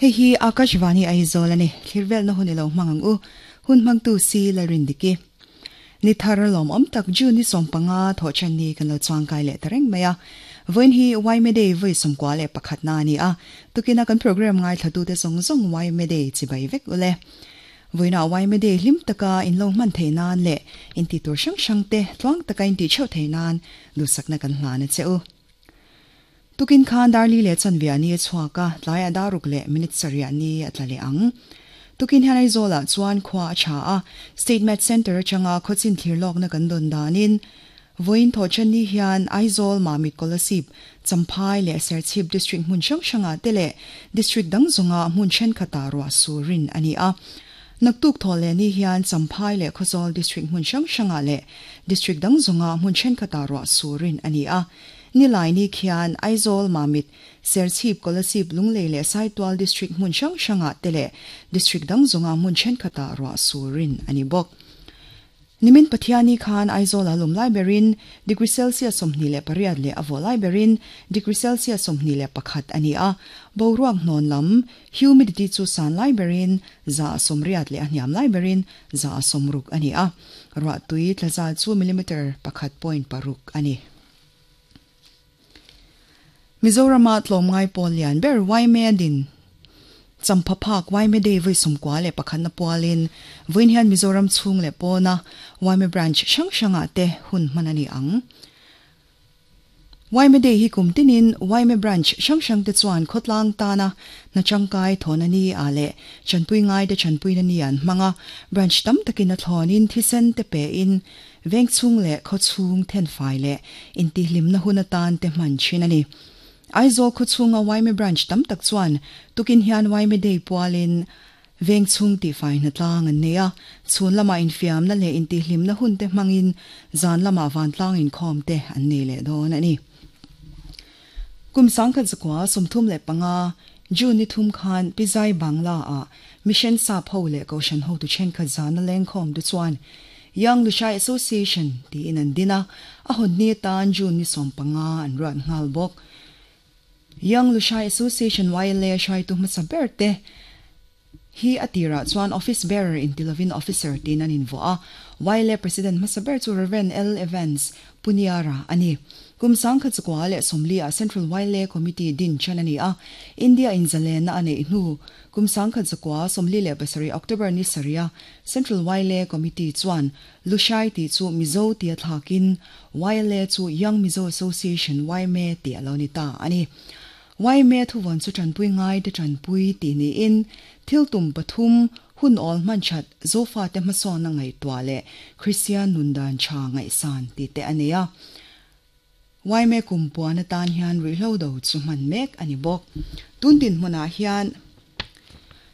Hei hi Akashvani Aizawl a ni. Thlir velna hun i lo hmang ang u. Hun hmangtu si Lalrindiki. Ni thar lawmawm tak June ni 15 thawhṭan ni kan lo chuangkai leh ta reng mai a. Vawiin hi Yma Day vawi 21 na a ni a. Tukina kan program ngaithlatute zawng zawng Yma Day chibai vek u le. Vawiinah Yma Day hlim taka in lo hman theih nan leh inti tur hrang hrang te tluang taka inti theuh theih nan duhsakna kan hlan a che u. Tukin khan dar li leh chanve ni a chhuak a, tlaiah dar ruk leh minute sarih ni a tla leh ang. Tukin hian Aizawlah chuan khua a tha a, State Met Centre atanga khawchin thlir lawkna kan dawn danin vawiin thawhṭan ni hian Aizawl, Mamit Kolasib, Champhai leh Serchhip District hmun hrang hrangah te leh District dang zawnga hmun thenkhatah ruah sur rin a ni a. Naktuk thaw leh ni hian Champhai leh Khawzawl District hmun hrang hrangah leh District dang zawnga hmun thenkhatah ruah sur rin a ni a. Nilai ni khian Aizawl, Mamit, Serchhip, Kolasib, Lunglei leh Saitual District hmun hrang hrangah te leh District dang zawnga hmun thenkhatah ruah sur rin a ni bawk. Nimin Pathiani khan Aizawl-a lum lai berin degree Celsius 28 leh a vawh lai berin degree Celsius 21 a ni a, boruak hnawn lam, humidity, chu san lai berin 80% leh a hniam lai berin 60% a ni a, ruahtui tla zal chu millimeter pakhat point paruk a ni. Mizorama tlawmngai pawl lian ber Yma din Champha phak Yma Day vawi 91 na pualin vawiin hian Mizoram chhung leh pawna Yma branch hrang hrangah te hun hman a ni ang. Yma Day hi kum tinin Yma branch hrang hrang te chuan khawtlang tana hna tangkai thawhna ni ah leh chanpui ngai te chanpuina ni an hmang a, branch tam takin a thlawnin thisen te pein Veng chhung leh khaw chhung thenfai leh intihhlimna hun atan te hman thin a ni. Aizawl khaw chhunga Yma Branch tam tak chuan tukin hian Yma Day pualin veng chhung tihfai hnatlang an nei a, chhun lamah infiamna leh intihhlimna hun te hmangin zan lamah vantlang inkhawm te an nei leh dawn a ni. Kum 1935, June ni thum khan Pizai Bangla-ah Mission Sap ho leh Kohhran hotu thenkhat zana lengkhawm te chuan Young Lushai Association tiin an din a, a hawn ni atan June ni 15 an ruat nghal bawk. Young Lushai Association, YLA, hruaitu hmasa ber te hi a tirah chuan Office Bearer inti lovin Officer tiin an invuah a. YLA President hmasa ber chu Rev. L. Evans Puniara a ni. Kum 1940 ah Central YLA Committee din ṭan a ni a, India in zalenna a neih hnu kum 1947 October ni sarih a Central YLA Committee chuan Lushai tih chu Mizo tia thlakin YLA chu Young Mizo Association, YMA, tih a lo ni ta a ni. Yma thuvawn chu tanpui ngai te tanpui tih niin thil tum pathum, hun awl hman that, Zofate hmasawnna ngaihtuah leh Kristian nun dan tha ngaihsan tih te a nei a. Yma kum puan atan hian ruihhlo do chu hman mek a ni bawk. Tun dinhmunah hian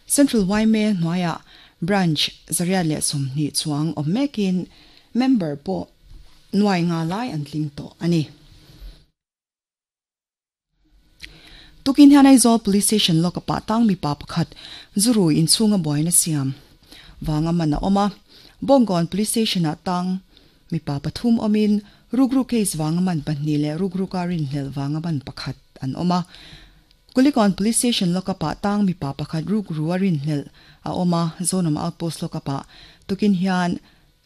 Central Yma hnuaiah Branch 120 chuang awm mekin member pawh nuai nga lai an tling tawh a ni. Tukin hian Aizawl Police Station lawk a pah tang mipa pakhat zurui inchhunga buaina siam vanga man a awm a. Bawngkawn Police Station-ah tang mipa pathum awmin rukru case vanga man pahnih leh rukruka rinhlelh vanga man pakhat an awm a. Kulikawn Police Station lawk a pah tang mipa pakhat rukru a rinhlelh a awm a, Zonam Outpost lawk a pah tukin hian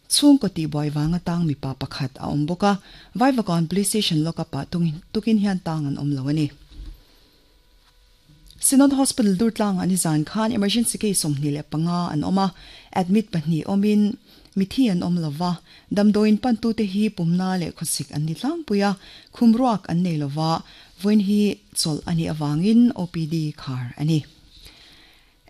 Chhungkaw tihbuai vanga tang mipa pakhat a awm bawk a, Vaivakawn Police Station lockup ah tukin hian tang an awm lo a ni. Synod Hospital Durtlangah nizan khan emergency case 25 an awm a, admit pahnih awmin mithi an awm lo va, damdawiin pantute hi pumna leh khawsik an ni tlangpui a, khum ruak an nei lo va, vawiin hi chawlh a nih avangin OPD khar a ni.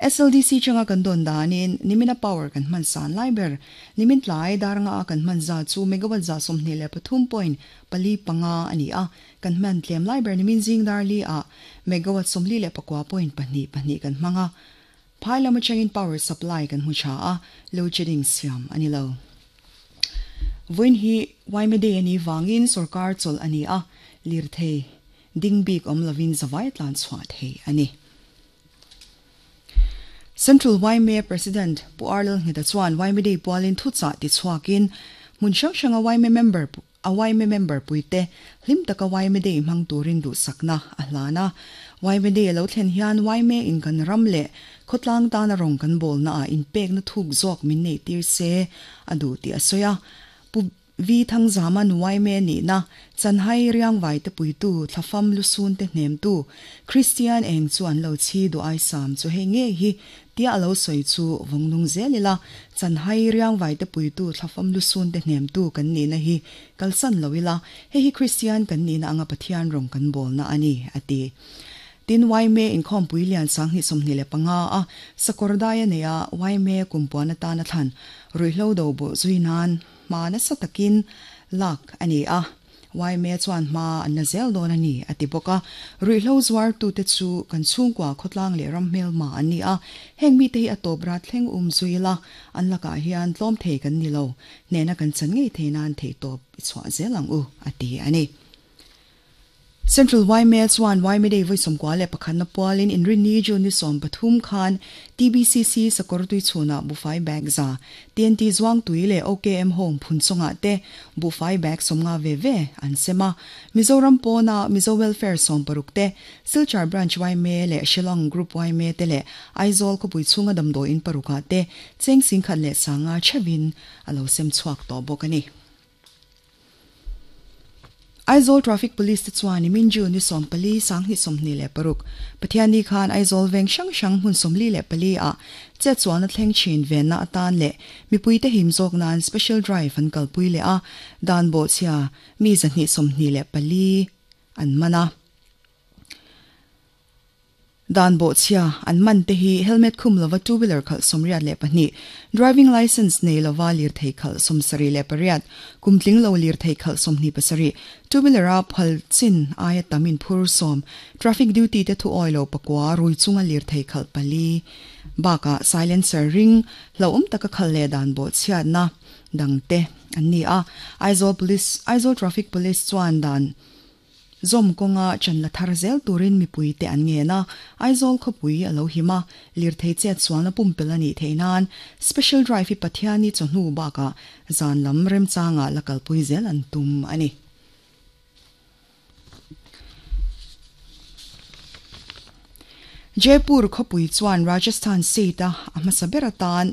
SLDC changa kan dawn danin nimina power kan hman san lai ber. Nimin tlai dar nga a kan hman za chu megawatt 123.45 a ni a, kan hman tlem lai ber nimin zing dar li ah megawatt 49.22 kan hmang a. Phai lam atangin power supply kan hmu tha a, load shedding siam a ni lo. Vawiin hi Yma Day a nih vangin sorkar chawlh a ni a, lirthei ding bik awm lovin zavai tlan chhuah thei a ni. Central Yma President Pu Arlel Ngheta chuan Yma Day pualin thuchah ti chhuakin hmun hrang hranga Yma member a Yma member puite hlim taka Yma Day hmang turin duhsakna a hlan a. Yma Day a lo thlen hian yma in kan ram leh khawtlang tana rawng kan bawlna ah inpekna thuk zawk min neih tir se a duh tih a sawi a. Pu Vi Thangzama Nuaime nihna, Chanhai Riangvai te puitu, Thlafam Lusun te hnemtu, Kristian eng chu an lo chhi duh ai sam chu hei ngei hi tia a lo sawi chu vawng nung zel ila, Chanhai Riangvai te puitu, Thlafam Lusun te hnemtu kan nihna hi kalsan lo ila, hei hi Kristian kan nihna anga Pathian rawng kan bawlna a ni, a ti. Tin, Yma inkhawmpui lian 2025 a sakawr dai a nei a, Yma kumpuan atana thlan ruihhlo do bawh zui nan hma nasa takin lak a ni a, Yma chuan hma an la zel dawn a ni, a ti bawk a. Ruihhlo zuartute chu kan chhungkua khawtlang leh ram hmelma an ni a, heng mite hi a tawp rat thleng um zui ila, an lakah hian tlawm thei kan ni lo, hnehna kan chan ngei thei nan theihtawp i chhuah zel ang u, a ti a ni. Central yma chuan yma Day vawi 91 na pualin Inrinni June ni 13 khan TBCC sakawr tui chhunah buhfai bag za, TNT Zuangtui leh OKM Home Phunchawngah te buhfai bag 50 ve ve an sem a. Mizoram pawna Mizo Welfare 60 te, Silchar Branch yma leh Shillong Group yma te leh Aizawl khawpui chhunga damdawiin parukah te cheng 10,050 theuhin a lo sem chhuak tawh bawk a ni. Aizawl Traffic Police te chuan nimin June ni 14, 2026, Pathianni khan Aizawl veng hrang hrang hmun 44 ah chetsualna thleng thin venna atan leh mipuite him zawk nan Special Drive an kalpui leh a, dan bawhchhia mi 224 an man a. Dan bawhchhia an man te hi helmet khum lova two wheeler khalh 82, driving licence nei lova lirthei khalh 78, kum tling lo lirthei khalh 27, two wheeler a phal chin aia tam inphur 10, traffic duty te thu awi lo pakua rui chunga lirthei khalh pali bakah silencer ring hlauhawm taka khalh leh dan bawhchhiatna dang te an ni a. Aizawl Police Aizawl Traffic Police chuan dan Zawm kawnga chan la thar zel turin mipuite an ngen a, Aizawl khawpui a lo him a, lirthei chet sualna pumpelh a nih theih nan Special Drive hi Pathianni chawhnu bakah zan lam remchangah la kalpui zel an tum a ni. Jaipur khawpui chuan Rajasthan state-a a hmasa ber atan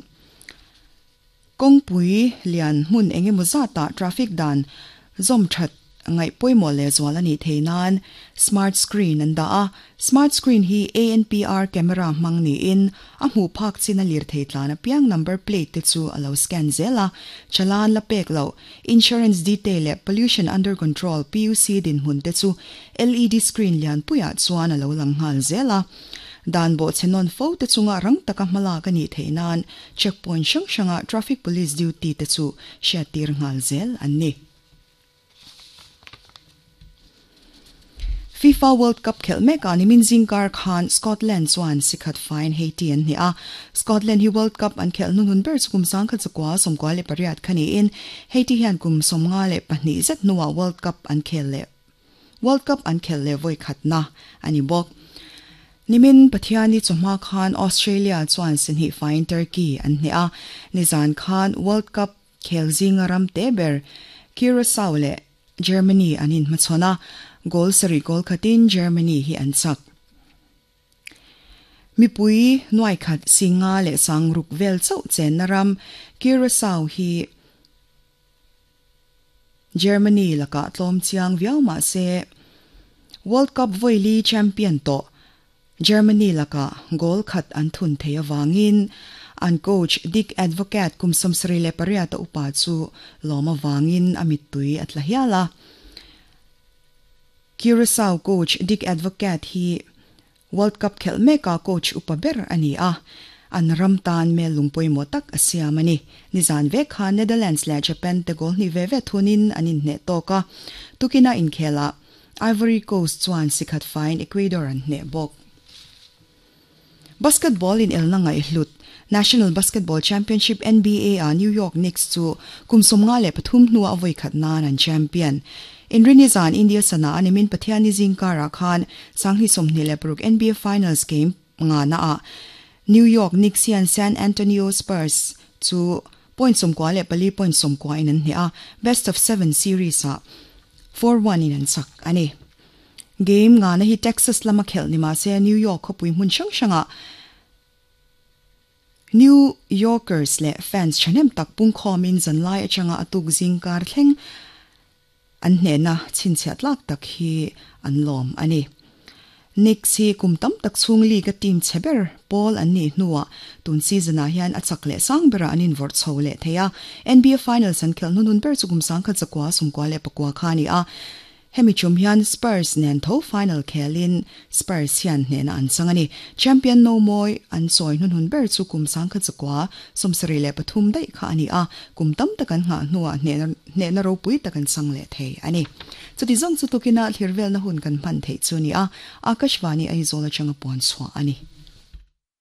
Kawngpui lian hmun eng emaw zatah traffic dan zawm that ngaih pawimawh leh zual a nih theih nan smart screen an dah a. Smart screen hi ANPR camera hmang niin a hmuh phak chin a lirthei tlan apiang number plate te chu a lo scan zel a. Chalan la pek loh, insurance detail leh pollution under control, PUC, dinhmun te chu LED screen lianpuiah chuan a lo lang nghal zel a. Dan bawhchhe nawn fo te chunga rang taka hmalak a nih theih nan Checkpoint hrang hranga traffic police duty te chu hriattir nghal zel an ni. FIFA World Cup khelh mekah nimin zingkar khan Scotland chuan sikhat faiin Haiti an hneh a. Scotland hi World Cup an khelh hnuhnun ber chu kum 1998 kha niin Haiti hian kum 52 zet hnuah World Cup an khel leh World Cup an khelh leh vawi khatna a ni bawk. Nimin Pathiani chawhma khan Australia chuan sihnih faiin Turkey an hneh a, nizan khan World Cup khel zinga ram te ber Curacao leh Germany an inhmachhawn a, goal sarih goal khatin Germany hi an chak. Mipui nuaikhat singa leh sangruk vel chauh chenna ram Curacao hi Germany lakah tlawm chiang viau mah se, World Cup vawili champion tawh Germany lakah goal khat an thun thei avangin an coach Dick Advocaat kum 78 a upa chu lawm avangin a mittui a tla hial a. Curacao coach Dick Advocaat hi World Cup khelh meka coach upa ber a ni a, an ram tan mel lung pawimawh tak a siam a ni. Nizan vek khan Netherlands leh Japan te goal hnih ve ve thunin an inhneh tawk a, tukina inkhelah Ivory Coast chuan sikhat faiin Ecuador an hneh bawk. Basketball inelna ngaihhlut National Basketball Championship, NBA, ah New York Knicks chu kum 53 hnuah a vawikhat nan an champion. Inrini zan India sana a nimin Pathianni zingkarah khan 2026 NBA Finals game ngana ah New York Knicks hian San Antonio Spurs chu point 94 point 90 in an hneh a, best of seven series ah 4-1 in an chak a ni. Game ngana hi Texas lama khelh ni mahse New York khawpui hmun hrang hrangah New Yorkers leh fans thahnem tak pungkhawmin zanlai atanga a tuk zing kar thleng an hnehna chhinchhiah tlak tak hi an lawm a ni. Knicks hi kum tam tak chhung league a team chhe ber pawl an nih hnuah tun season ah hian a chak leh sang berah an invawrh chho leh thei a. NBA Finals an khelh hnunhun ber chu kum 1900 94 kha a ni a. Hemi chum hian Spurs nen tho final khelin Spurs hian hnehna an chang a ni. Champion no mawi an chawi hnunhun ber chu kum 1973 daih kha a ni a, kum tam tak an nghah hnuah hnehna ropui tak an chang leh thei a ni. Chuti zawng chu tukina thlir velna hun kan hman theih chu a ni a, Akashvani Aizawl atanga puan chhuah a ni.